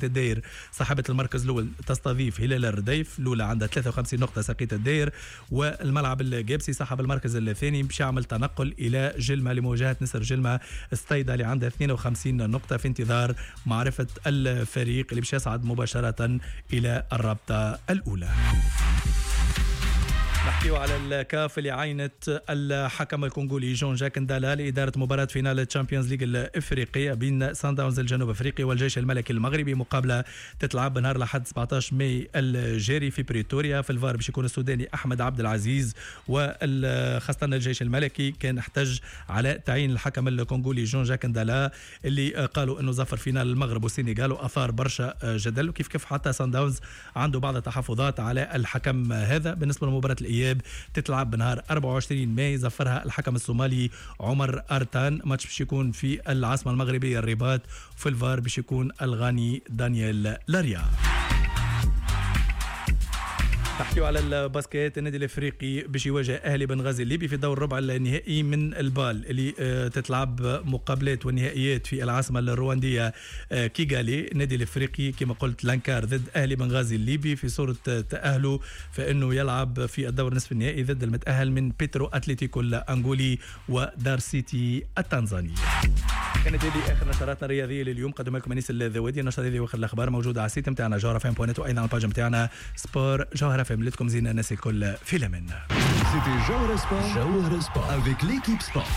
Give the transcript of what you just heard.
الداير صاحبة المركز الأول تستضيف هلال الرديف، الأولى عندها 53 نقطة ساقية الداير، والملعب القابسي صاحب المركز الثاني باش يعمل تنقل إلى جلمة لمواجهة نسر جلمة الستيدة اللي عندها 52 نقطة، في انتظار معرفة الفريق اللي باش يصعد مباشرة إلى الرابطة الأولى. نحكيو على الكاف اللي عينت الحكم الكونغولي جون جاك ندالا لإدارة مباراة finale ال Champions League الإفريقية بين سان داونز الجنوب أفريقي والجيش الملكي المغربي، مقابلة تتلعب نهار الأحد 17 ماي الجاري في بريتوريا. في الفار باش يكون السوداني أحمد عبد العزيز، وخاصة الجيش الملكي كان احتج على تعيين الحكم الكونغولي جون جاك ندالا اللي قالوا انه زفر finale المغرب والسنغال واثار برشا جدل، وكيف كيف حتى سان داونز عنده بعض التحفظات على الحكم هذا. بالنسبة لمباراة الإياب تتلعب بنهار 24 ماي، زفرها الحكم الصومالي عمر أرتان، ماتش باش يكون في العاصمة المغربية الرباط، في الفار باش يكون الغاني دانيال لاريا. نحكيو على ال basket، النادي الافريقي باش يواجه اهلي بنغازي الليبي في دور ربع النهائي من ال BAL اللي تتلعب مقابلات والنهائيات في العاصمة الروانديه كيغالي. النادي الافريقي كما قلت l'ANCAR ضد اهلي بنغازي الليبي في صوره تاهله، فانه يلعب في الدور نصف النهائي ضد المتاهل من بيترو اتلتيكو الانغولي ودار سيتي التنزاني. كانت هذه اخر نشراتنا الرياضية لليوم، قدم لكم انيس الذوادي. النشرة هذه واخر الاخبار موجودة على ال site نتاعنا جوهرة FM point net، وايضا على ال page نتاعنا sport جوهرة FM. لكم زينة الناس الكل في الامان. C'était Jawhara Sport. Jawhara Sport avec l'équipe sport.